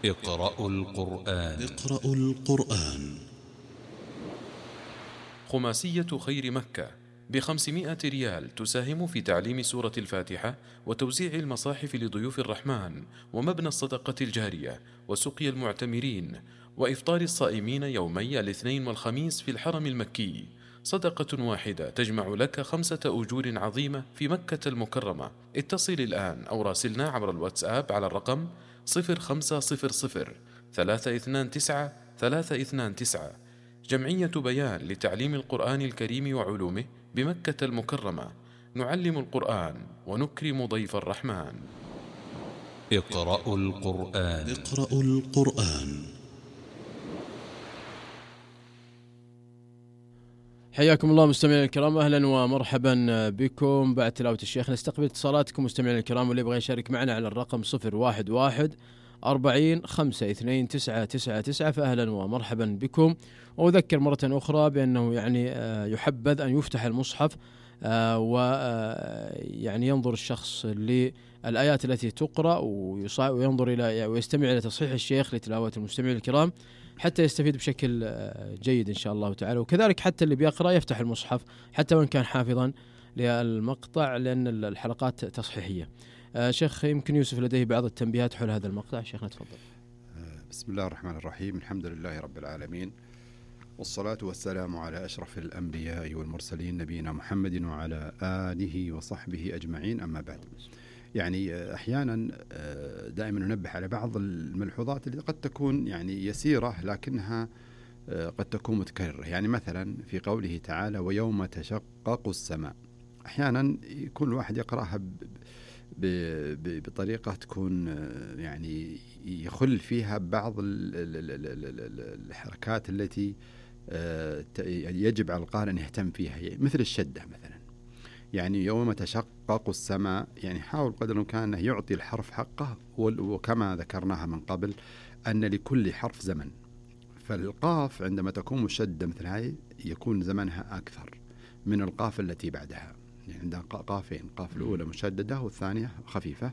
اقرأوا القرآن. خماسية خير مكة ب500 ريال تساهم في تعليم سورة الفاتحة وتوزيع المصاحف لضيوف الرحمن ومبنى الصدقة الجارية وسقي المعتمرين وإفطار الصائمين يومي الاثنين والخميس في الحرم المكي. صدقة واحدة تجمع لك 5 أجور عظيمة في مكة المكرمة. اتصل الآن أو راسلنا عبر الواتساب على الرقم 0500 329 329. جمعية بيان لتعليم القرآن الكريم وعلومه بمكة المكرمة. نعلم القرآن ونكرم ضيف الرحمن. اقرأوا القرآن. حياكم الله مستمعينا الكرام، أهلا ومرحبا بكم. بعد تلاوة الشيخ نستقبل اتصالاتكم مستمعينا الكرام، واللي يبغى يشارك معنا على الرقم 011 40 52 999. فأهلا ومرحبا بكم. وأذكر مرة أخرى بأنه يحبذ أن يفتح المصحف ويعني ينظر الشخص للآيات التي تقرأ وينظر إلى ويستمع إلى تصحيح الشيخ لتلاوة المستمعين الكرام حتى يستفيد بشكل جيد إن شاء الله تعالى. وكذلك حتى اللي بيقرأ يفتح المصحف حتى وإن كان حافظا للمقطع، لأن الحلقات تصحيحية. شيخ يمكن يوسف لديه بعض التنبيهات حول هذا المقطع. شيخنا تفضل. بسم الله الرحمن الرحيم. الحمد لله رب العالمين، والصلاة والسلام على أشرف الأنبياء والمرسلين نبينا محمد وعلى آله وصحبه أجمعين. أما بعد، أحيانا دائما ننبه على بعض الملحوظات اللي قد تكون يسيرة لكنها قد تكون متكررة. مثلا في قوله تعالى ويوم تشقق السماء، أحيانا يكون الواحد يقرأها بطريقة تكون يخل فيها بعض الحركات التي يجب على القارئ أن يهتم فيها، مثل الشدة مثلا. يوم تشقق السماء، حاول قدر الإمكان أنه يعطي الحرف حقه، وكما ذكرناها من قبل أن لكل حرف زمن. فالقاف عندما تكون مشدة مثل هاي يكون زمنها أكثر من القاف التي بعدها. عندها قافين، قاف الأولى مشددة والثانية خفيفة،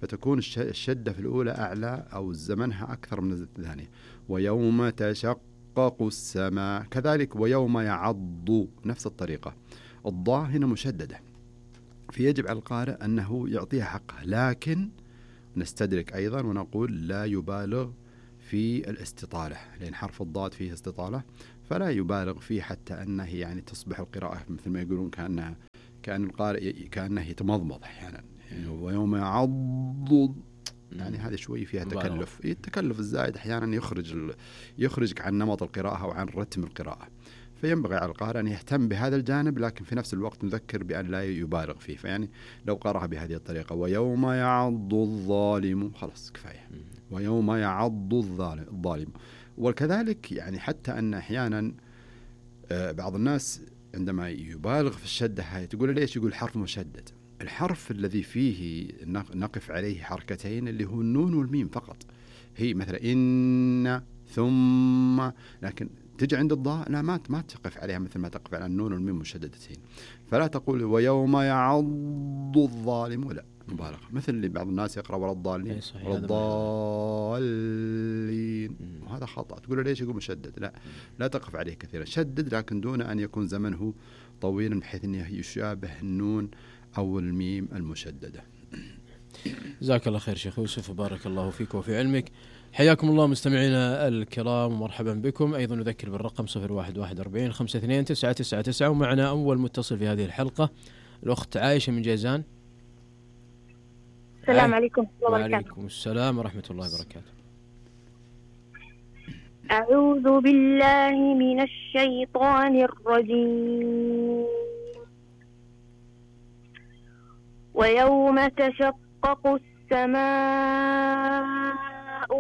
فتكون الشدة في الأولى أعلى أو زمنها أكثر من الثانية. ويوم تشقق السماء كذلك. ويوم يعض نفس الطريقة، الضاء هنا مشددة، فيجب على القارئ أنه يعطيها حقها، لكن نستدرك أيضا ونقول لا يبالغ في الاستطالة، لأن حرف الضاد فيه استطالة، فلا يبالغ فيه حتى أنه تصبح القراءة مثل ما يقولون كأن القارئ كأنه يتمضمض أحيانا. ويوم يعض هذا شوي فيها تكلف. التكلف الزائد أحيانا يخرجك عن نمط القراءة أو عن رتم القراءة. فينبغي على القارئ أن يهتم بهذا الجانب، لكن في نفس الوقت نذكر بأن لا يبالغ فيه. لو قرأها بهذه الطريقة ويوم يعض الظالم، خلاص كفاية. ويوم يعض الظالم. وكذلك حتى أن أحيانا بعض الناس عندما يبالغ في الشدة هاي تقول ليش؟ يقول حرف مشدد. الحرف الذي فيه نقف عليه حركتين اللي هو النون والميم فقط. هي مثلا إن ثم، لكن تجي عند الضاء لا، ما تقف عليها مثل ما تقف على النون والميم مشددتين. فلا تقول ويوم يعض الظالم، ولا مبالغة مثل اللي بعض الناس يقرأ ولا الضالين ولا الضالين، وهذا خطأ. تقول ليش؟ يقول مشدد. لا تقف عليه كثيرا، شدد لكن دون أن يكون زمنه طويلا بحيث أنه يشابه النون أو الميم المشددة. جزاك الله خير شيخ يوسف، وبارك الله فيك وفي علمك. حياكم الله مستمعينا الكرام ومرحبا بكم. أيضا نذكر بالرقم 011 40 52 999. ومعنا أول متصل في هذه الحلقة الأخت عائشة من جيزان. السلام عليكم ورحمة الله وبركاته. وعليكم السلام ورحمة الله وبركاته. أعوذ بالله من الشيطان الرجيم. ويوم تشقق السماء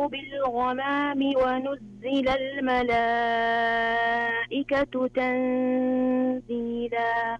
بالغمام ونزل الملائكة تنزيلا